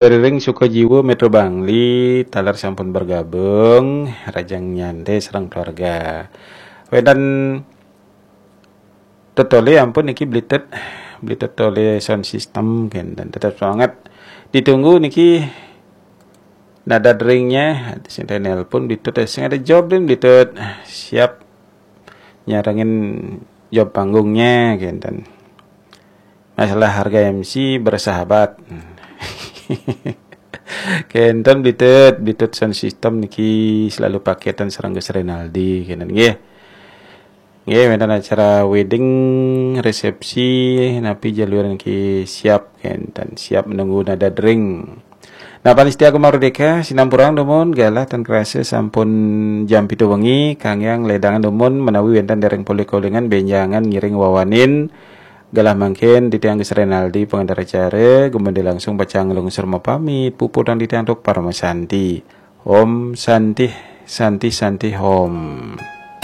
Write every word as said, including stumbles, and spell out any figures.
Dari ring Sukajiwa Metro Bangli, taler sampun bergabung, rahajeng nyantai sareng keluarga. Wénten tetolih ampun niki Bli Tut, Bli Tut tolih sound system kénten, tetap semangat. Ditunggu niki nada deringnya, sing ada nelpon Bli Tut, sing ada job deh Bli Tut. Siap nyarengin job panggungnya kénten. Masalah harga M C bersahabat. Kénten Bli Tut, Bli Tut sound system niki selalu paketan sareng Gus Renaldi kénten nggih. Nggih, wénten acara wedding, resepsi, napi jalur niki siap kénten, siap menunggu nada dering. Nah, panitia Gema Merdeka, sinampurang dumun, galah tan krasa sampun jam pitu wengi, kanggéang ledangan dumun menawi wénten dereng polih kolingan bénjangan ngiring wawanin. Galah mangkin titiang Gus Renaldi pangenter acara, gumanti langsung pacang lungsur mapamit, puputang titiang antuk parama santi. Om Santih, Santih, Santih Om.